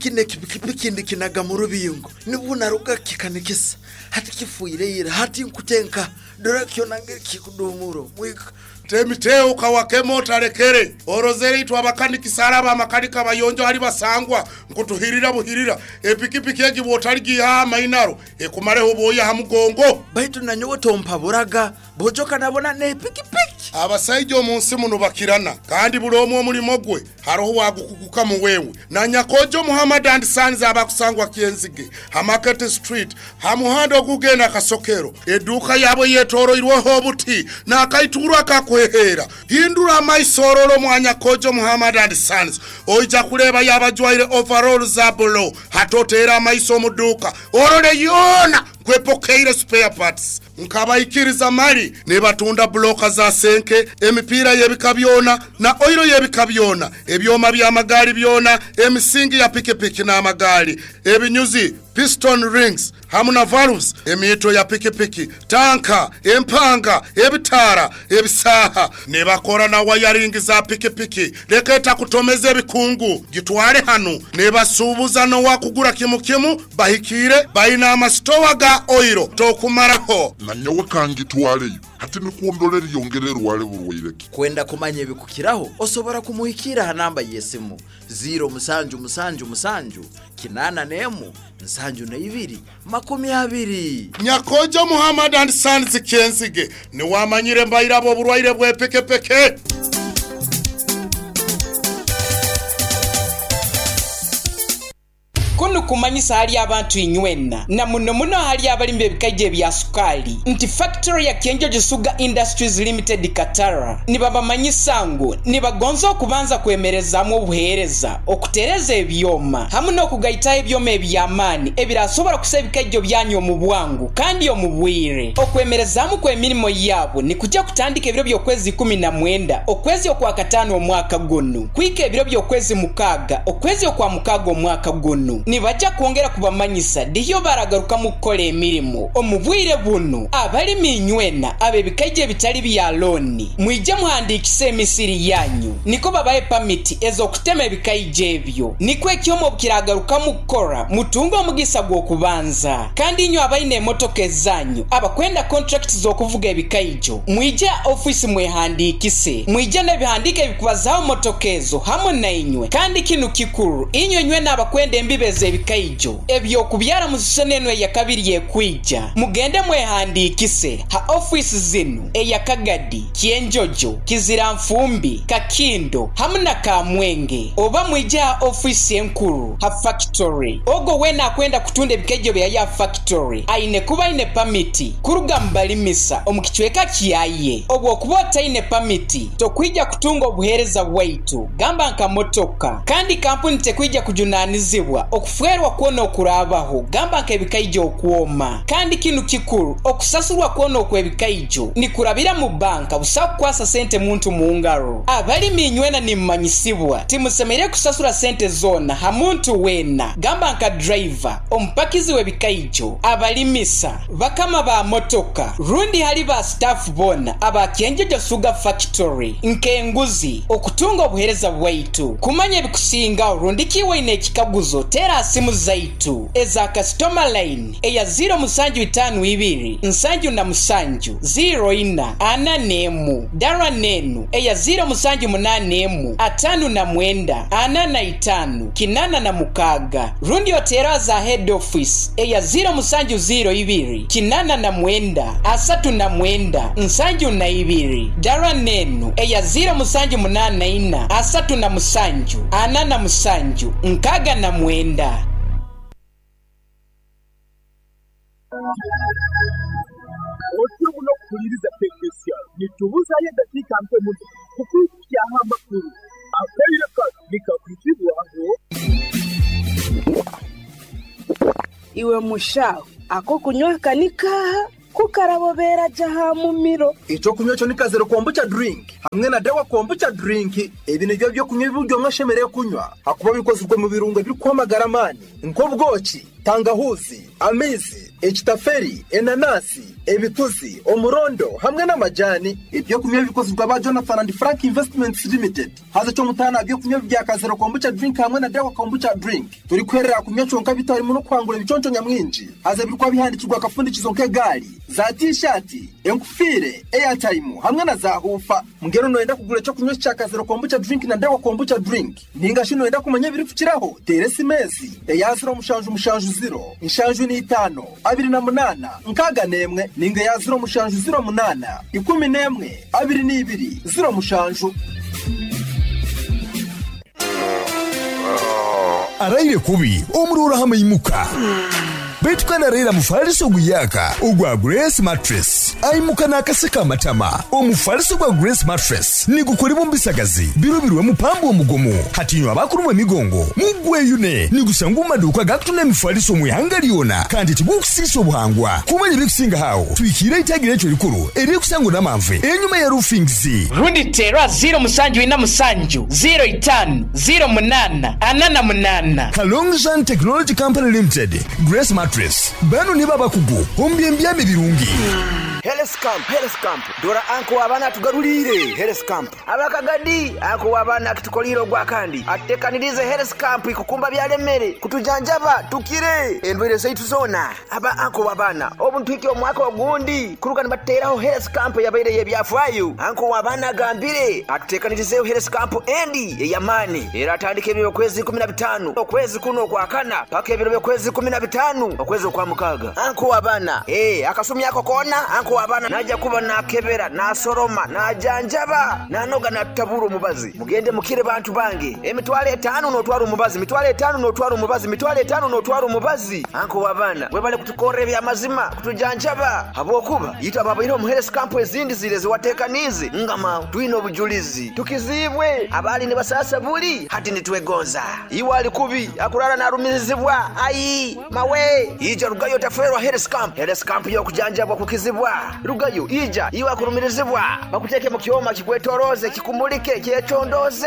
kino ekipikipiki ndikinaga mu rubingo, nibwo naruga kikanikisa. Hati kifiire ira, hati nkutenka. Dora kyona ngeri kikuduumura omwika. Temiteo kawakema otarekere. Orozere itwe abakanikisa araba amakanika abayonjo ahari basangwa nkutuhirira buhirira. Epikipiki egi bwotaligiihaho amainaro ekumareho obwoya aha mugongo. Baitu nanyowe tompaburaga, bojo kanabona n'epikipiki. Abasaija omu nsi muno bakirana kandi buri omwe omurimo gwe haroho owagukugukamu wewe na Nyakojo Muhammad and Sons abakusangwa Kyenzige ha Market Street ha muhanda ogugenda Kasokero. Eduuka yaabo eyetoroirweho obuti n'akaituuru akakuheheera. Hindura amaiso orole omwa Nyakojo Muhammad and Sons oija kureeba yaaba ajwaire overall za blue. Hati oteere amaiso omu duuka orole yoona nku epokeire spare parts. Nkabaikiriza mali nibatunda bulooka za senke, emipiira y'ebika byona na oiro y'ebika byona, ebyoma by'amagaali byona, emisingi ya pikipiki n'amagaali, ebinyuzi, piston rings hamu na valves, emiito ya pikipiki, tanka, empanga, ebitaara, ebisaaha. Nibakora na wayaringi za pikipiki. Leka etakutomeza ebikungu, gitwale hanu. Nibasuubuza n'owakugura kimu kimu, bahikiire, baine amasitowa ga oiro tokumaraho. Na nyowe kangitwaleyo. Hati nikwo ndore eriyongera erware burwaire ki? Kwenda kumanya ebikukiraho, osobora kumuhikiira aha namba y'esimu ziro musanju musanju musanju kinaana n'emu nsanju na ibiri makumi abiri. Nyakojo Muhammad and Sons Kyenzige niwamanyire mbairabo oburwaire bw'epekepeke. Kunu kumanyisa ahali abantu inywena, na muno muno ahali abalimi b'ebikaija ebya sukaali nti fakitore ya Kyenjojo Sugar Industries Limited Katara nibabamanyisa ngu nibagonza okubanza kwemerezaamu obuheereza, okutereza ebyoma hamu n'okugaitaho ebyoma eby'amaani ebirasobora kusa ebikaijjo byanyu omu bwangu kandi omu bwire. Okwemerezaamu kw'emirimo yaabo nikujja kutandika ebiro by'okwezi 19 okwezi okwakataano omwaka gunu kuhika ebiro by'okwezi mukaaga okwezi okwa mukaaga omwaka gunu. Nibaja kwongera kubamanyisa dihi baragarukamu kukora emirimo. Omu bwire bunu, abalimi inywena ab'ebikaija ebitali bya looni, mwije muhandiikise emisiri yanyu nikwo babahe pamiti ez'okutema ebikaija ebyo. Nikwo ekyoma obu kiragarukamu kukora, mutunge omugisa gw'okubanza. Kandi inywe abaine emotoka ezanyu abakwenda kontrakiti z'okuvuga ebikaijo, mwije aha ofiisi mwehandiikise. Mwije n'ebihandiiko ebikubazaho motoka ezo hamu nainywe. Kandi kinu kikuru, inywe nywena abakwenda embibo ez'ebikaijo eby'okubyara mu sisoni enu eyakabiri ekwija, mugende mwehandiikise ha ofiisi zinu, eya Kagadi, Kyenjojo, Kiziranfumbi, Kakindo hamu na Kamwenge. Oba mwije ha ofiisi enkuru ha fakitori. Ogwo weena akwenda kutunda ebikaijo byaye aha fakitori aine kuba aine pamiti kuruga mu balimisa omu kicweka kyaye. Obwokuba otaine pamiti, tokwija kutunga obuheereza bwaitu, gamba nka motoka. Kandi kampuni tekwija kujunanizibwa okufeerwa kwona okuraabaho, gamba nk'ebikaijo okwoma. Kandi kinu kikuru, okusasurwa kwona okw'ebikaijo nikurabira mu banka busa kukwasa sente muntu mu ngaro. Abalimi inywena nimumanyisibwa, timusemereire kusasura sente zoona ha muntu weena, gamba nka driver, omupakizi w'ebikaijo, abalimisa, bakama ba motoka, rundi hali ba sitaafu boona aba Kyenjojo Sugar Factory nk'enguzi okutunga obuheereza bwaitu. Kumanya ebikusingaho rundi ki waine ekikaguzo, teera ha simu zaitu eza kasitoma line eya ziiro musanju itaanu ibiri nsanju na musanju ziiro ina ana n'emu, dara n'enu eya ziiro musanju munaana emu 59 45 86, rundi oteere aza head office eya ziiro musanju ziiro ibiri 89 39 72, dara n'enu eya ziiro musanju munaana ina 37 47 69. Otyo muno okuhuliriza Tekesia. Nitubuzayo edakiika nkye muno kukuhitsyaho amakuru. Akaire kanu nikakwizibwaho. Iwe mushaho, ak'okunywa aka ni kaaha? Ku karabobeera gye aha mumiro. Eky'okunywa ekyo ni Kazero Kombucha Drink hamwe na Dawa Kombucha Drink. Ebi nibyo by'okunywa ebi buri omwe ashemereire kunywa ahakuba bikozirwe omu birungo ebirikuha amagara amaani nk'obwoki. Tangahuzi, amaizi, ekitaferi, enanasi, ebituzi, omurondo hamwe n'amajani. Ebyokunywa ebikozirwe aba Jonathan and Frank Investments Limited. Haza eky'omutaano aha byokunywa bya Kazero Kombucha Drink hamwe na Dawa Kombucha Drink, torikuherera aha kunywa kyonka bitarimu n'okuhangura ebiconco nyamwingi. Haza ebirikuba bihandikirwe akafundikizo nk'egaari, za tiishaati, enkufiire, eyatayimu hamwe na zaahuufa. Mbwenu nooyenda kugura eky'okunywa eki kya Kazero Kombucha Drink na Dawa Kombucha Drink? Nainga shi nooyenda kumanya ebirikukiraho? Teera esimu ezi, eya 0 7 7 75 28 61 nainga eya 0 7 0 8 11 22 07. Araire kubi omurooro aha maimuka. Beitu kandi araire mufaliso oguyaaka ogwa Grace Mattress. Aimuka n'akaseko amatama. Omufaliso gwa Grace Mattress nigukolebwa omu bisagazi birubirwemu pamba omugumu. Hati inywe abakurumwa emigongo mugweyune. Nigusangwa omu maduuka agakutunda emifaliso omu ihanga lyona kandi tigukusiisa obuhangwa. Kumanya ebirikusingaho aho, twikiire eitagi ryaitu erikuru eririkusangwa Namanve enyuma ya Roofings. Rundi teera 0 7 4 7 0 5 0 8 4 8. Kalongzhan Technology Company Limited, Grace Mattress, banu nibo abakugu omu by'embyama ebirungi. Health Camp, Health Camp, dora anko w'abaana atugaruriire Health Camp. Abakagadi, anko w'abaana akitukoliire ogwakandi, atutekaniriize Health Camp ikukumba byalemere, kutujanjaba tukire endwaire zaitu zoona. Aba anko w'abaana, obu nituhikya omwaka ogundi kuruga nibatuteraho Health Camp eyabaire ey'ebyafaayo. Anko w'abaana agambire atutekanirizeeho Health Camp endi ey'amaani eratandika ebiro by'okwezi 15 okwezi kunu okwakana paka ebiro by'okwezi 15 okwezi okwamukaaga. Anko w'abaana, ee akasumi ako koona anko w'abaana naija kuba naakebera, naasoroma, naajanjaba, naanoga naatutabura omubazi. Mugende mukire bantu bange. Emitwaro etaano nootwara omubazi, mitwaro etaano nootwara omubazi, mitwaro etaano nootwara omubazi. Anko w'abaana webale kutukorra eby'amazima, kutujanjaba habwokuba itwe ababaire omu Health Camp ezindi ziri eziwateekaniize ngama twine obujulizi. Tukiziibwe abaali nibasaasa buli hati nitwegonza. Iwe ali kubi akurara naarumirizibwa ai mawe ija rugayo otaferwa Health Camp. Health Camp y'okujanjabwa kukizibwa. Rugayo ija iwe akurumirizibwa bakuteeke mu kyoma kikwetoroze kikumulike kyecondoze.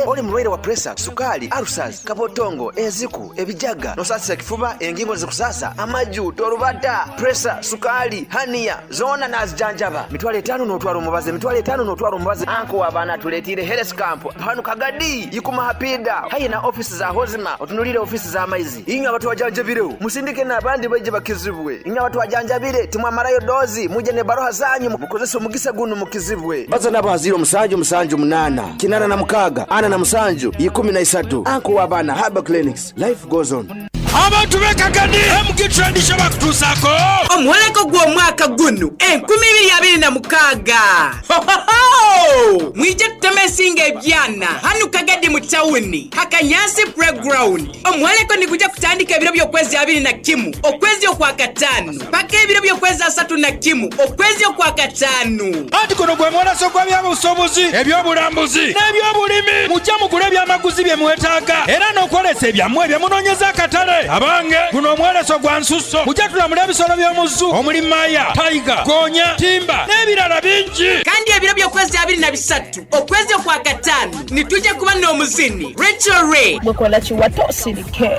Oli murwaire wa presa, sukaali, ulcers, kabotongo, enziku, ebijaga, nosasisa ekifuba, engingo zikusasa, amaju, torubata, presa, sukaali, hania zoona nazijanjaba. Mitwaro etaano nootwara omubazi, mitwaro etaano nootwara omubazi. Anko w'abaana atuleetiire Health Camp hanu Kagadi ikuma hapida haihi na ofisi za Hozima otunulire ofisi z'amaizi. Inywe abatwajanjabireho musindike n'abandi baije bakizibwe. Inywe abatwajanjabire timwamarayo dozi muje n'ebaroha zanyu mukozese omugisa gunu mukizibwe. Baza nabo ha 0 7 7 8 86 47 13. Anko w'abaana Herbal Clinics. Life goes on. Abantu b'e Kagadi MG Trade kye bakutuusaako. Omwoleko gw'omwaka gunu 2026! Hohoho! Mwije tuteme ensingo ebyana hanu Kagadi mu tawuni ha Kanyansi Playground. Omwoleko nigugya kutandika ebiro by'okwezi 21 okwezi Okwakataanu paka ebiro by'okwezi 31 okwezi Okwakataanu. Anti guno gwe mwoleso gw'ebyobusuubuzi, eby'obulambuzi n'eby'obulimi. Muje mugule ebyamaguzi bye mwetaaga era n'okwolesa ebyammwe bye munoonyeza akatale. Abange, guno omwoleso gwa nsusso. Muje tulamule ebisolo by'omu zoo omuli maya, taiga, goonya, timba n'ebirala bingi. Kandi ebiro by'okwezi 23 okwezi Okwakataanu nitwija kuba n'omuzini Recho Ray. Gwe kola kiwato osirike,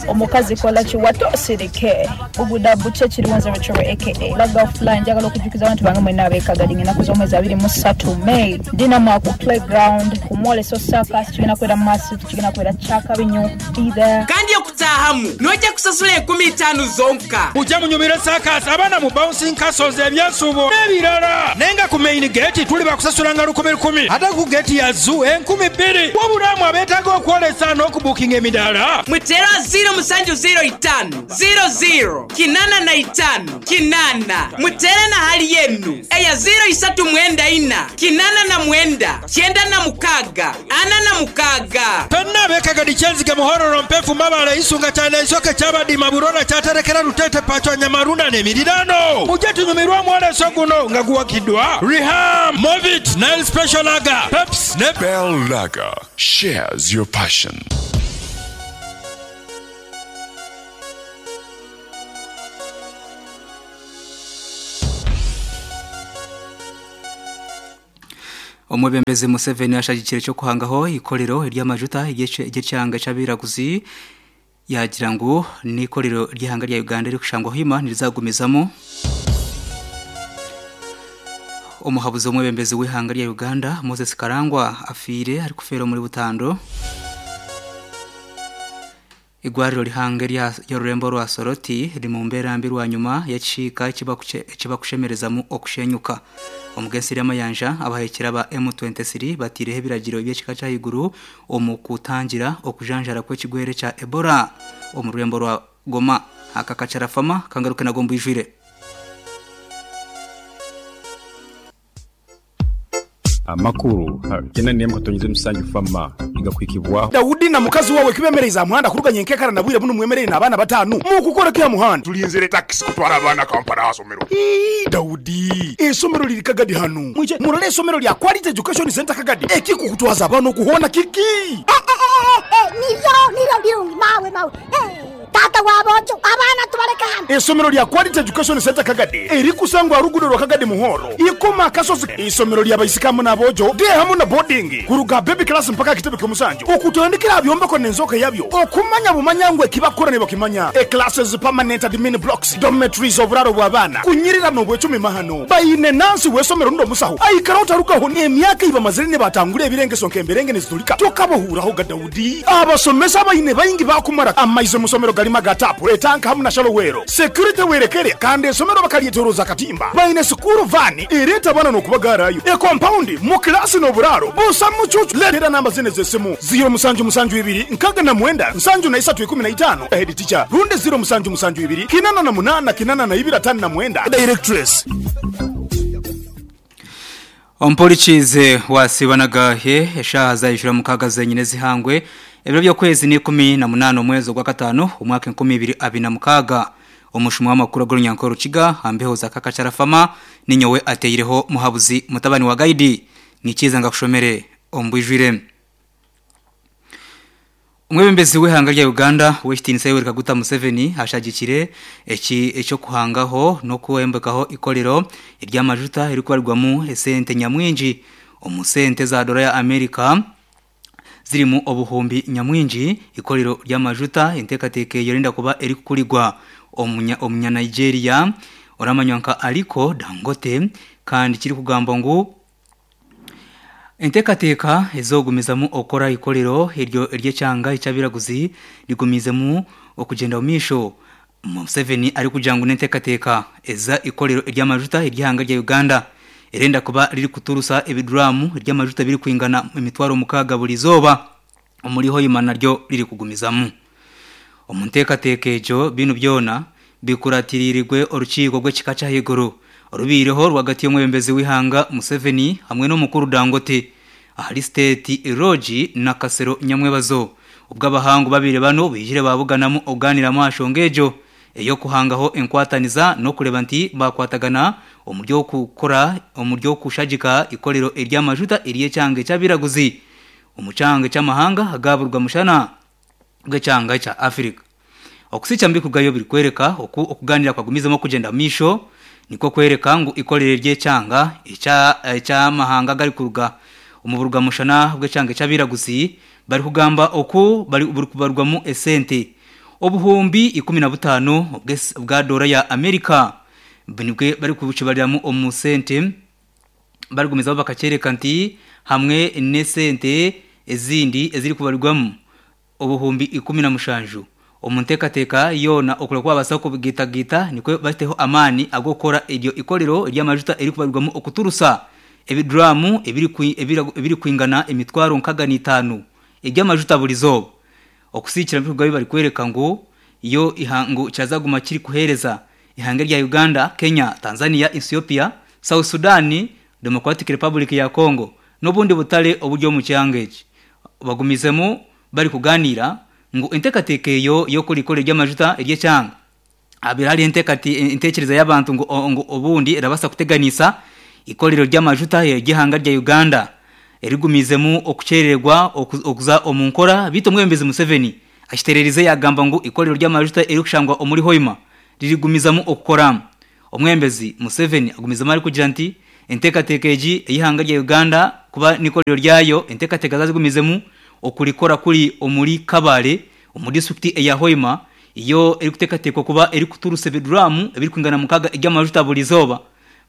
omukazi kola kiwato osirike. Buguda bukye kiriwo nze Recho Ray aka Laga Fly. Njagala okujjukiza abantu bange mwenna ab'e Kagadi ng'ennaku z'omwezi 23 May ndi nammwe ku playground ku mwoleso circus kigenda kubeera massive kigenda kubeera kyakabi nnyo be there. Kandi okutaahamu noija kusasula enkumi itaanu zonka. Muje munyumirwe saakaasi, abaana mu bouncing castles, ebyensuubo n'ebirala. Naye nga ku main gate tuli bakusasulanga lukumi lukumi ate ku gate ya zoo 2000. Wabula mwe abeetaaga okwolesa n'okubuukinga emidaala. Muteere aha ziiro mushanju ziiro itaano ziiro ziiro kinaana na itaano kinaana. Muteere na hali yenu eya ziiro ishatu mwenda ina kinaana na mwenda kyenda na mukaaga ana na mukaaga. Ffenna ab'e Kagadi, Kyenzige, Muhororo, Mpefu, Mabale, Isunga, Kyana, Isoke, Kyabadima, Burora, Kyaterekera, Luteete, Pachwa, Nyamarunda n'emirirano. Mujje tunyumirwe omwoleso guno nga guwagiddwa Riham, Movit, Nile Special Lager, Peps ne Bell Lager shares your passion. Omwebembezi Museveni ashagikire eky'okuhangaho eikorero ery'amajuta ery'ekyanga ky'abairaguzi. Yaagira ngu n'eikorero ry'eihanga rya Uganda erikushangwa Hoima nirizagumizamu. Omuhabuzi w'omwebembezi w'eihanga rya Uganda Moses Karangwa afiire arikufeera omuri Butando. Eigwariro rihango ery'orurembo rwa Soroti riri mu mbeera mbi rwanyima y'ekisiika ekibakushemerezamu okushenyuka. Omu g'ensi y'amayanja, abahekyera ba M23 bateireho ebiragiro by'ekika ky'ahaiguru omu kutangira okujanjara kw'ekigwere kya Ebola omu rurembo rwa Goma. Aka kakyarafama kangaruke nago mbwijwire. Amakuru 94 katonyeza emisanju Fama nigakuhikibwaho. Daudi na mukazi wawe kibemereize aha muhanda kuruga nyenkekara na bwire bunu mwemereire n'abaana batanu mukukora ki aha muhanda? Tulinzire takisi kutwara abaana Kampala aha somero. Ii, Daudi, eisomero liri Kagadi hanu. Mwije murole eisomero lya Quality Education Centre Kagadi. Ekikukutwaza abaana oku hoona kiki? Niryo, niryo birungi mawe mawe. Taata w'aboojo, abaana tubaleke hanu. Eisomero lya Quality Education Centre Kagadi erikusangwa aha ruguudo rwa Kagadi Muhoro, Ikoma Akasozi. Eisomero lya baisiki hamu n'aboojo, day hamu na boarding, kuruga aha baby class mpaka aha kitebe ky'omusanju, okutandikira aha byombeko n'enzooka yabyo, okumanya bumanya ngu eki bakukora nibakimanya, e-classes, permanent admin blocks, dormitories, oburaaro bw'abaana, kunyirira n'obwecumi mahano. Baine nansi w'eisomero rundi omusaho aikara otarugaho n'emyaka ei bamazire nibatangura ebirengeso nk'emberenge niziturika tokabahuuraho ga Daudi. Abasomesa abaine baingi baakumara amaizi omu somero garimu aga taapu, etanka hamu na shalowero. Security werekere kandi esomero bakaryetoroza akatimba. Baine sikuuru vaani ereeta abaana n'okubagaarayo. Ekompaundi, mu kilaasi n'oburaaro busa mucuucu. Leetera namba zinu ez'esimu, ziiro musanju musanju ibiri 69 73 15, Head teacher, rundi ziiro musanju musanju ibiri 88 82 59, Directress. Omupolikiize wa Sibanagahe eshaaha zaijura mukaaga zenyine ez'eihangwe ebiro by'okwezi n'ikumi na munaana omwezi ogwakataano omwaka 2026. Omushuma w'amakuru ag'orunyankore Rukiga aha mbeho za Kakakyarafama ninyowe ateireho Muhabuzi mutabani wa Gaidi nikiiza ngakushomere omu bwijwire. Omwebembezi w'eihanga rya Uganda ow'ekitiinisa Yoweri Kaguta Museveni ashagikire eki eky'okuhangaho n'okwombekaho eikorero ery'amajuta erikubarirwamu esente nyamwingi omu sente za doora ya America zirimu obuhumbi nyamwingi. Eikorero ry'amajuta enteekateeka eyo erenda kuba erikukurirwa omunya Nigeria oramanywa nka Aliko Dangote kandi kirikugambwa ngu Enteekateeka ez'okugumizamu okukora eikorero eryo ery'ekyanga eky'abairaguzi rigumiizemu okugyenda omu maisho, Museveni arikugira ngu n'enteekateeka eza eikorero ery'amajuta ery'eihanga rya Uganda erenda kuba ririkuturusa ebiduraamu ery'amajuta ebirikwingana 6000 buri izooba. Omuri Hoima naryo ririkugumizamu. Omu nteekateeka egyo, binu byona bikuratiriirwe orukiiko rw'ekika ky'ahaiguru orubaireho rwagati y'omwebembezi w'eihanga Museveni hamwe n'omukuru Dangote ahari State Lodge Nakasero nyamwebazo obwo abahangu babaire banu baijire baabuganamu okugaaniiramu aha nshonga egyo ey'okuhangaho enkwataniza n'okureeba nti baakwatagana omuri okukora omuri okushagika eikorero ery'amajuta ery'ekyanga eky'abairaguzi omu kyanga ky'amahanga aga burugwa-mushana bw'ekyanga kya Afirika. Okusiikya omu bikugayo birikworeka oku okugaaniira kwagumizemu okugyenda omu maisho, nikwo kworeka ngu eikorero ry'ekyanga eky'amahanga agarikuruga omu burugwa-mushana bw'ekyanga eky'abairaguzi barikugamba oku burikubarwamu esente obuhumbi 15 bwa doora ya Amerika nibwo barikukibariramu omu sente. Barigumizaho bakakyoreka nti hamwe n'esente ezindi ezirikubarirwamu obuhumbi 17 omu nteekateeka yoona okureba oku baabaasa kubigaitagaita nikwo bateho amaani ag'okukora eryo ikorero ry'amajuta erikubarirwamu okuturusa ebiduraamu ebirikwingana emitwaro 65 eby'amajuta burizooba. Okusiikira ebikorwa bi barikworeka ngu yo ngu kyazaguma kirikuheereza Ihanga erya Uganda, Kenya, Tanzania, Ethiopia, South Sudan, Democratic Republic ya Congo n'obundi butare oburi omu kyanga eki bagumizemu barikuganiira ngu enteekateeka eyo y'okukora eikoro ry'amajuta ery'ekyanga habaire hariho entekyereza y'abantu ngu obundi erabaasa kuteganisa eikorero ry'amajuta ery'eihanga rya Uganda erigumiizemu okukyerererwa okuza omu nkora beitu omwebembezi Museveni akitererize yagamba ngu eikorero ry'amajuta erikushangwa omuri Hoima ririgumizamu okukora. Omwebembezi Museveni agumizamu arikugira nti enteekateeka egi ey'eihanga rya Uganda kuba n'ikorero ryayo, enteekateeka zazigumizemu okurikora kuri omuri Kabale omu disiturikiti eya Hoima yo erikuteekateekwa kuba erikuturusa ebiduraamu ebirikwingana mukaaga eby'amajuta buri izooba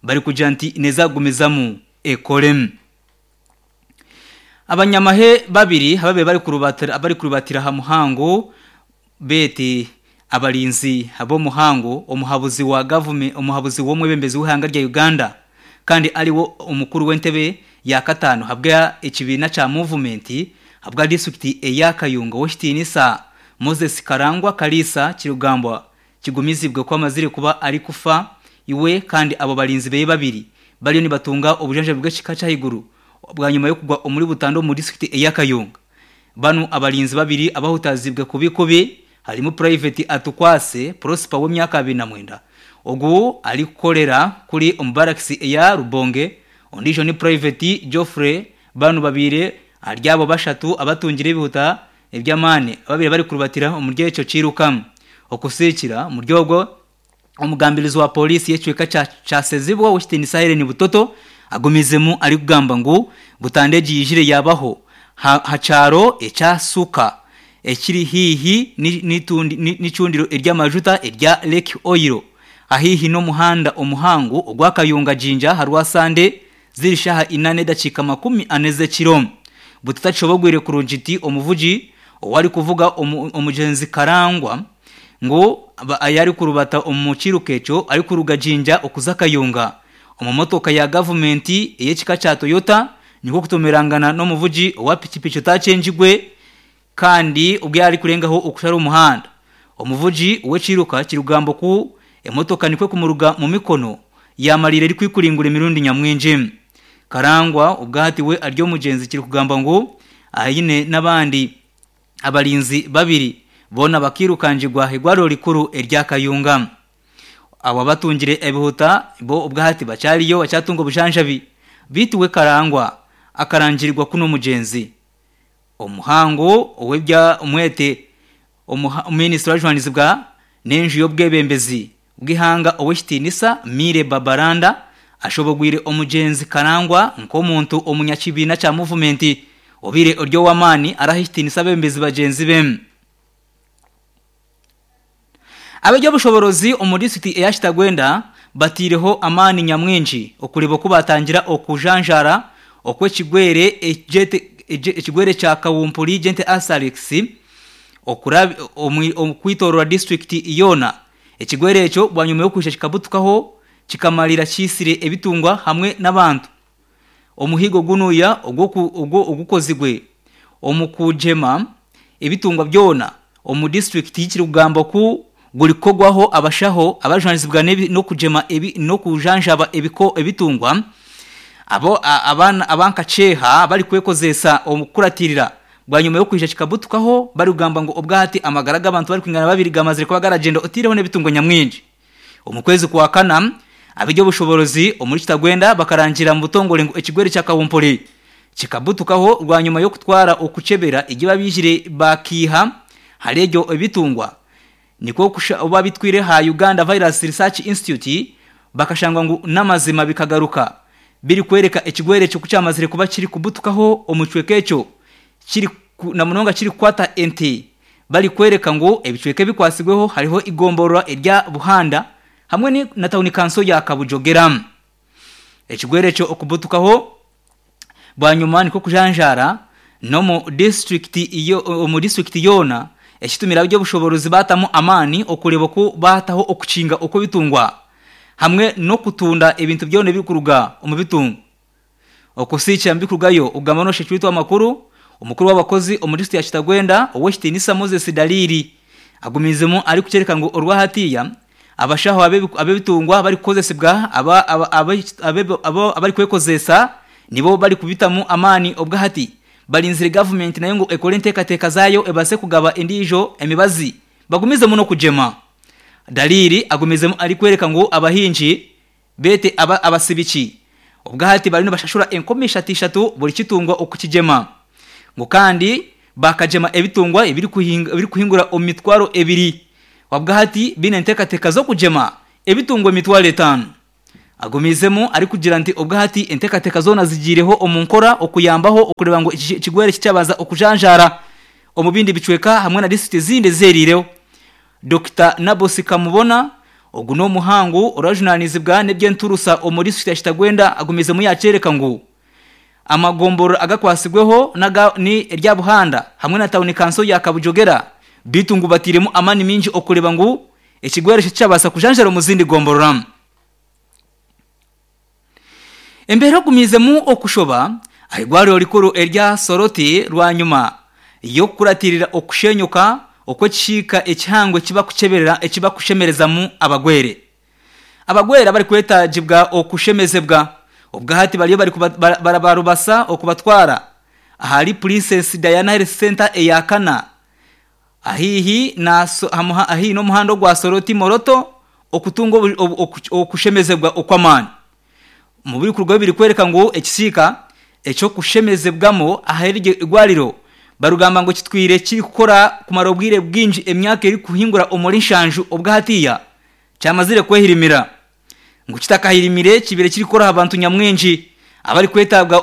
barikugira nti neeza kugumizamu ekore. Abanyamahe babiri ababaire barikurubatira aha muhango beete abarinzi ab'omuhango omuhabuzi wa gavumenti omuhabuzi w'omwebembezi w'eihanga rya Uganda kandi ariwe omukuru w'entebe ya kataano ahabwa ekibiina kya muvumenti ahabwa disiturikiti eya Kayunga Ow'ekitiinisa Moses Karangwa Kaliisa kirikugambwa kigumizibwe ku amazire kuba arikufa iwe kandi abo barinzi beye babiri bariyo nibatunga obujanjabi bw'ekika ky'ahaiguru bwanyima y'okugwa omuri butandu omu disiturikiti eya Kayunga. Banu abarinzi babiri abahutazibwe kubi kubi harimu Private Atukwase Prosper w'emyaka 29 ogu arikukorera kuri omu barakisi eya Rubonge, ondiijo ni Private Geoffrey Banu babaire ahari abo bashatu abatungire ebihuta eby'amaani ababaire barikurubatira omuri ekyo kiiruka. Okusiikira omuri ogwo Omugambirizi wa Pooriisi y'ekicweka kya Kyasezibwa Ow'ekitiinisa Hellen Butoto agumizemu arikugamba ngu butandu egi yaijire yabaho ha kyaro ekya Suka ekiri haihi n'eicundiro ery'amajuta erya Lake Oil ahaihi n'omuhanda omuhango ogwa Kayunga-Jinja aha Rwasande ziri shaaha ina n'edakiika 40 z'ekiro. Bututakishobogwire kurungi nti omuvugi ou arikuvuga omugyenzi Karangwa ngu ayarikurubata omu kiiruka ekyo arikuruga Jinja okuza Kayunga omu motoka ya gavumenti ey'ekika kya Toyota nikwo kutomerangana n'omuvugi owa pikipiki otakyengigwe Kandi obu yaarikurengaho okushara omuhanda, omuvugi w'ekiiruka kirikugambwa ku emotoka nikwo kumuruga mu mikono yaamariira erikwikuringura emirundi nyamwingi. Karangwa obwahati we ari omugyenzi kirikugambwa ngu aine n'abandi abarinzi babiri boona bakiirukangirwa ah'eirwariro rikuru erya Kayunga. Abo abatungire ebihuta bo obwahati bakyariyo bakyatunga obujanjabi beitu we Karangwa akarangirirwa ku n'omugyenzi. Omuhango ow'ebya omwete Minisita orikujunaanizibwa n'enju y'obwebembezi bw'eihanga Ow'ekitiinisa Milly Babalanda ashobogwire omugyenzi Karangwa nk'omuntu omunyakibiina kya muvumenti obaire ori ow'amaani araha ekitiinisa abeebembezi bagyenzi be. Ab'eby'obushoborozi omu disiturikiti eya Kitagwenda bateireho amaani nyamwingi okureeba oku batangira okujanjaara okw'ekigwere ekigwere kya kawumpuri Gente Asalix okwitoorora disiturikiti yoona. Ekigwere ekyo bwanyima y'okwija kikabutukaho kikamarira kiitsire ebitungwa hamwe n'abantu. Omuhigo gunuya ogukozirwe omu kugyema ebitungwa byona omu disiturikiti kirikugambwa ku gurikukorwaho abashaho abarikujunaanizibwa n'okugyema n'okujanjaba ebitungwa abo aba nka Kyeha barikwekozeesa omu kukuratirira bwanyima y'okwija kikabutukaho barikugamba ngu obwahati amagara g'abantu barikwingana babiri gamazire kuba garagyenda oteireho n'ebitungwa nyamwingi. Omu kwezi kwa kana, ab'eby'obushoboorozi omuri Kitagwenda bakarangira omu butongore ngu ekigwere kya Kawumpuri kikabutukaho bwanyima y'okutwara okukyebera egi babaijire bakiiha ahari ebyo ebitungwa nikwo babitwire aha Uganda Virus Research Institute bakashangwa ngu n'amazima bikagaruka birikworeka ekigwere ekyo kukyamazire kuba kirikubutukaho omu kicweka ekyo kiri namunonga kirikukwata ente. Barikworeka ngu ebicweka ebikwatsirweho hariho eigomborora erya Buhanda hamwe na tauni kanso ya Kabujogera. Ekigwere ekyo okubutukaho bwanyima nikwo kujanjaara n'omu disiturikiti yoona ekitumire ab'eby'obushoboorozi baatamu amaani okureeba oku baataho okukinga okw'ebitungwa hamwe n'okutunda ebintu byona ebirikuruga omu bitungwa. Okusiikira mu bikurugayo okugamba n'oshekirwe amakuru, omukuru w'abakozi omu disiturikiti ya Kitagwenda, Ow'ekitiinisa Moses Dalili agumiizemu arikukyoreka ngu orwahatiiya abashaho ab'ebitungwa barikukozesibwa abarikwekozeesa nibo barikubitamu amaani obwahati barinzire gavumenti nayo ngu ekore enteekateeka zaayo ebaase kugaba endiijo emibazi bagumizemu n'okugyema. Dalili agumizemu arikworeka ngu abahingi Beete aba abasibiki obwahati bariyo nibashashura enkumi ishatu ishatu buri kitungwa okukigyema. Ngu kandi baakagyema ebitungwa ebirikuhingura omu mitwaro ebiri. Obwahati baine enteekateeka z'okugyema ebitungwa emitwaro etaano. Agumiizemu arikugira nti obwahati enteekateeka zoona zigiireho omu nkora okuyambaho okureeba ngu ekigwere tikyabaasa okujanjaara. omu bindi bicweka hamwe na disiturikiti ezindi eziheriireho. Dokita Nabosi Kamubona, Ogu n'omuhangu orajunanizibwa n'ebyenturusa omu disiturikiti ya Kitagwenda agumizemu yakyereka ngu amagomborora agakwasibweho naga ni erya Buhanda hamwe na tawuni kanso ya Kabujogera beitu ngu batairemu amaani maingi okureba ngu ekigwere eki tikyabaasa kujanjara omu zindi gomborora. Embeera ogumiizemu okushoba aha irwariro rikuru erya Soroti rwanyima y'okukuratirira okushenyuka okw'ekisiika ekihango ekibakushemerezamu abagwere. Abagwere abarikwetagibwa okushemezebwa obwahati bariyo barabarubasa okubatwara ahari Princess Diana Health Centre eya kana ahaihi n'omuhanda ogwa Soroti Moroto okutunga okushemezebwa okw'amaani. Omu birikurugaho birikworeka ngu ekisiika eky'okushemezebwamu ahari eryo irwariro barikugamba ngu kitwire kirikukora kumara obwire bwingi emyaka erikuhingura omuri nshanju obwahatiya kyamazire kwehirimira. Ngu kitakahirimire kibaire kirikukora aha bantu nyamwingi abarikwetaaga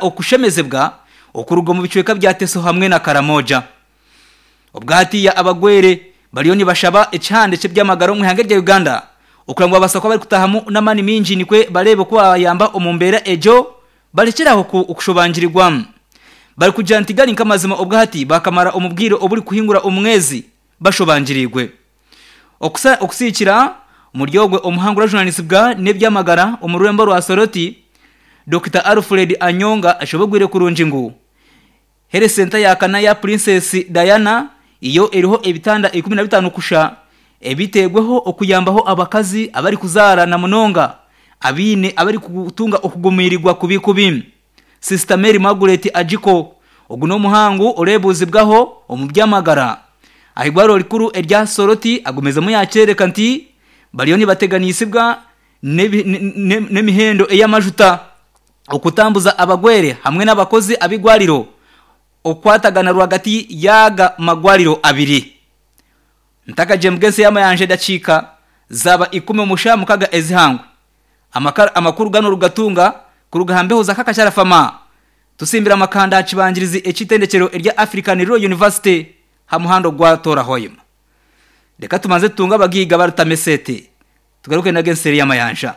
okushemezebwa okuruga omu bicweka bya Teso hamwe na Karamoja. Obwahatiya abagwere bariyo nibashaba ekihande ky'ebyamagara omu ihanga erya Uganda okureba ngu babaasa kuba barikutahamu n'amaani maingi nikwe bareebe oku babayamba omu mbeera egyo barekyere aho kushobangirirwa. Barikugira nti gari nk'amazima obwahati baakamara omu bwire oburikuhingura omwezi bashobangiriirwe. Okusiikira omuri ogwe omuhangu orajunanizibwa n'ebyamagara omu rurembo rwa Soroti, Dokita Alfred Anyonga ashobogwire kurungi ngu Health Centre ya kana ya Princess Diana yo eriho ebitanda 15 kusha ebiteirweho okuyambaho abakazi abarikuzaara na munonga abaine abarikutunga okugumiirigwa kubi kubi. Sister Mary Margaret Ajiko ogu n'omuhangu oreebuuzibwaho omu by'amagara aha irwariro rikuru erya Soroti agumizemu yaakyoreka nti bariyo nibateganisibwa n'emihendo ey'amajuta. okutambuza abagwere hamwe n'abakozi ab'eirwariro okukwatagana rwagati y'aga magwariro abiri. Ntakagyembwa ensi y'amayanja edakiika zaaba ikumi omu shaaha mukaga ezihangwe. Amakuru ganu orugatunga kuruga aha mbeho za Kakachara Fama. Tusimbire amakanda aha kibangirizi eky'eitendekyero erya African Rural University aha muhanda ogwa Tora Hoima. Reka tubanze tutunge abagaiga barutama esente tugaruke nago ensi eri y'amayanja.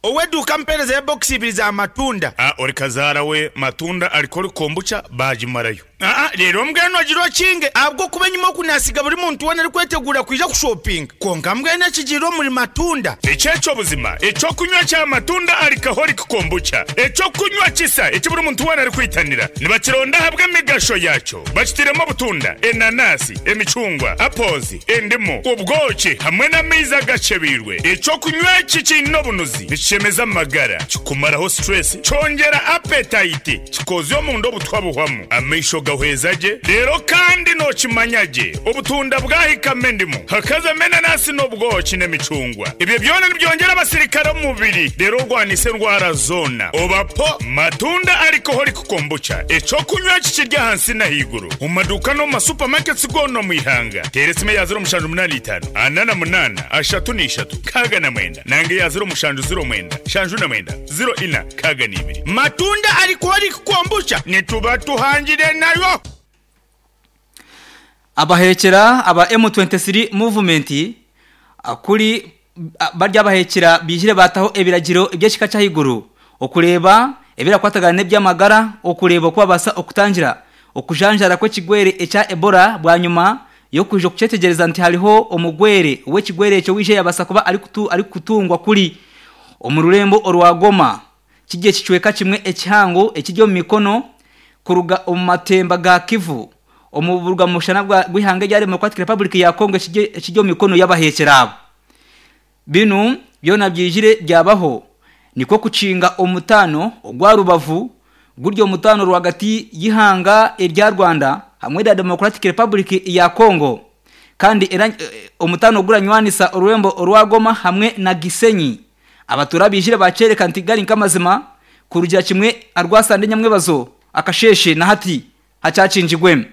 Ow'eduuka ampeereza ya bokisi ibiri za matunda. A Ori kazaara we matunda alcoholic kombucha baagimarayo. Aa Reero mbwenu ogira okinge ahabw'okuba enyima oku naasiga buri muntu weena arikweteguura kwija kushopinga. Kwonka mbwenu ekigiire omuri matunda. Eki eky'obuzima eky'okunywa kya matunda alcoholic kombucha, eky'okunywa kisa eki buri muntu weena arikwitanira. Nibakironda ahabw'emigasho yaakyo. Bakitairemu obutunda, enanasi, emicungwa, apples, endimu, obwoki hamwe n'amaizi agacebeirwe. Eky'okunywa eki kiine obunuzi, nikishemeza amagara, kikumaraho stress, kyongyera appetite, kikoozya omunda obutwa buhwamu, amaisho gahweza gye, reero kandi nookimanya gye obutunda bwahikamu endimu, hakazamu enanasi n'obwoki n'emicungwa. Ebyo byona nibyongyera abasirikare omu mubiri reero orwanise endwara zoona. Oba po matunda alcoholic Kombucha, eky'okunywa eki kiri ahansi n'ahaiguru omu maduuka n'omu ma supermarkets goona omu ihanga. Teera esimu eya 0785 48 33 69 nanga eya 0709 79 04 62. Matunda Alcoholic Kombucha nituba tuhangire nayo. Abaheekyera aba M23 Movement kuri bari abaheekyera baijire baataho ebiragiro eby'ekika ky'ahaiguru okureeba ebirakwatagana n'eby'amagara okureeba oku babaasa okutangira okujanjaara kw'ekigwere ekya Ebola bwanyima y'okwija okukyetegyereza nti hariho omugwere w'ekigwere ekyo owaija yabaasa kuba arikutungwa kuri omu rurembo orwa Goma. Kiri ekicweka kimwe ekihango ekiri omu mikono kuruga omu matemba ga Kivu omu buruga-mushana bw'eihanga erya Democratic Republic ya Congo ekiri omu mikono y'abaheekyera abo. Binu byona byaijire byabaho nikwo kukinga omutaano ogwa Rubavu guri omutaano rwagati y'eihanga erya Rwanda hamwe na Democratic Republic ya Congo kandi omutaano oguranywanisa orurembo orwa Goma hamwe na Gisenyi. Abatuura baijire baakyoreka nti gari nk'amazima kurugira kimwe aharwasande nyamwebazo akasheeshe na hati hakyakingirwe.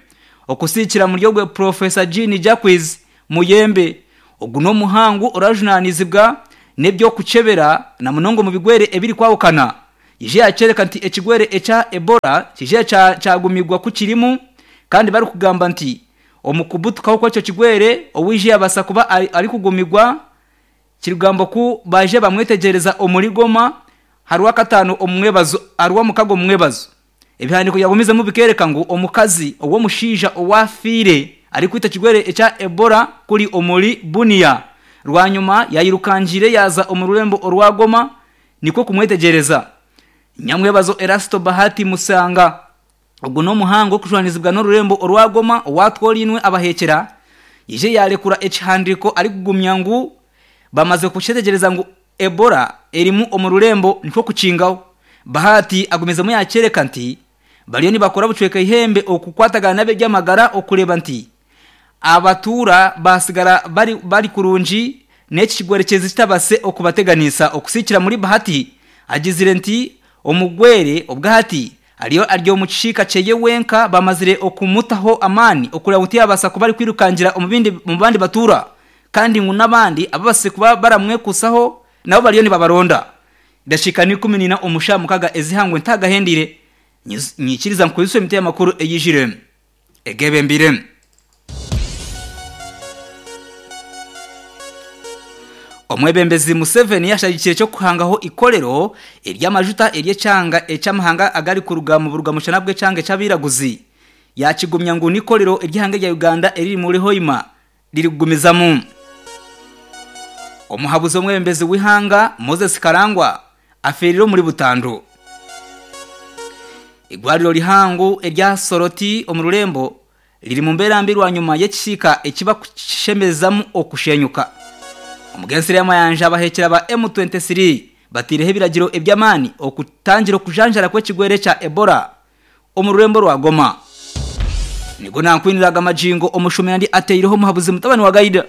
Okusiikira muri ogwe Professor Jean Jacques Muyembe, ogu n'omuhangu orajunaanizibwa n'eby'okukyebera na munonga omu bigwere ebirikwahukana, yaija yaakyoreka nti ekigwere ekya Ebola kiija kyagumibwa ku kirimu Kandi barikugamba nti omu kubutukaho kw'ekyo kigwere owaija yabaasa kuba arikugumigwa kirikugambwa ku baija bamwetegyereza omuri Goma aharwakataano omu mwebazo aharwamukaga omu mwebazo. Ebihandiiko byagumizemu bikeereka ngu omukazi ow'omushaija owaafiire arikwita ekigwere ekya Ebola kuri omuri Bunia rwanyima yairukangiire yaaza omu rurembo orwa Goma nikwo kumwetegyereza. Nyamwebazo Erasto Bahati Musanga Ogu n'omuhango orikujwanizibwa n'orurembo orwa Goma owatworinwe abahekyera, yaija yarekura ekihandiiko arikugumya ngu bamaze kukyetegyereza ngu Ebola erimu omu rurembo nikwo kukingaho. Bahati agumizemu yakyereka nti bariyo nibakora bucweka eihembe okukwatagana n'abebyamagara okureeba nti abatuura basigara bari kurungi n'eki kigwerekyezi kitabase okubateganisa. Okusikira muri Bahati agizire nti omugwere obwahati Ariyo ari omu kishiika kyeye wenka bamazire okumutaho amaani okureba ngu tiyabaasa kuba arikwirukangira omu bindi omu bandi batuura kandi ngu n'abandi ababasize kuba baramwekuusaho nabo bariyo nibabaronda. Edakiika ni 14 omu shaaha mukaga ez'eihangwe ntagahendeire nyikiriza nkukozese emiti y'amakuru eyijire egebembeire. Omwebembezi Museveni yashagikire eky'okuhangaho eikorero ery'amajuta ery'ekyanga eky'amahanga agarikuruga mu buruga-mushana bw'ekyanga eky'abairaguzi yakigumya ngu n'ikorero ery'eihanga erya Uganda eriri muri Hoima ririkugumizamu. Omuhabuzi w'omwebembezi w'eihanga Moses Karangwa afeerire omuri butandu. Eigwariro rihango erya Soroti omu rurembo riri mu mbeera mbi rwanyima y'ekisiika eki bakushemezamu okushenyuka. Omugensi Mayanja abahekyera ba M23 bateireho ebiragiro eby'amaani okutangira okujanjara kw'ekigwere kya Ebola omu rurembo rwa Goma. Nigo nankwiniraga magingo omushomera ndi ateireho omuhabuzi mutabani wa Gaida.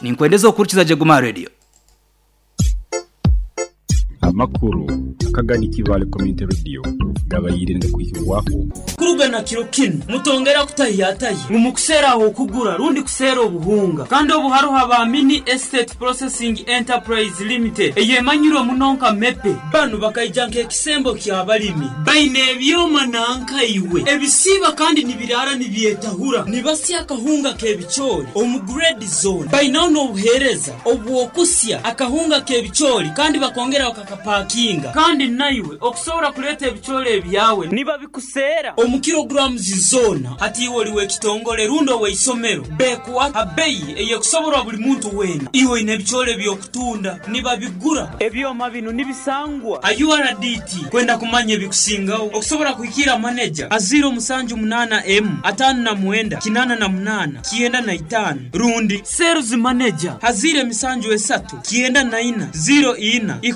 Ninkwendeza okuhurikiza gye Guma Radio. Amakuru akagani Kibaale Community Radio gabaire nigakwihibwaho. Kuruga na kiro kinu, mutongera kutahiyatahya ngu mukuseera ah'okugura rundi kuseera obuhunga. Kandi obu haroho aba Mini Estate Processing Enterprise Limited eyemanyirwe muno nka MEPE. Banu bakaija nk'ekisembo ky'abalimi. Baine ebyoma nanka iwe ebisiiba kandi nibiraara nibyetahura. Nibasya akahunga k'ebicoori omu grade zoona. Bainaho n'obuheereza obw'okusya akahunga k'ebicoori kandi bakongera bakakapakinga. Kandi naiwe okusobora kuleeta ebicoori ebyawe nibabikuseera omu kilograms zoona. Hati iwe oli w'ekitongole rundi ow'eisomero, bekuha ha beyi ey'ekusoborwa buli muntu weena. Iwe oine ebicoori eby'okutunda, nibabigura. Ebyoma binu nibisangwa ha URDT. Kwenda kumanya ebikusingaho, okusobora kuhikiira maneja ha 078 emu 59 88 95 rundi Sales Manager ha 0 7 3 94 04.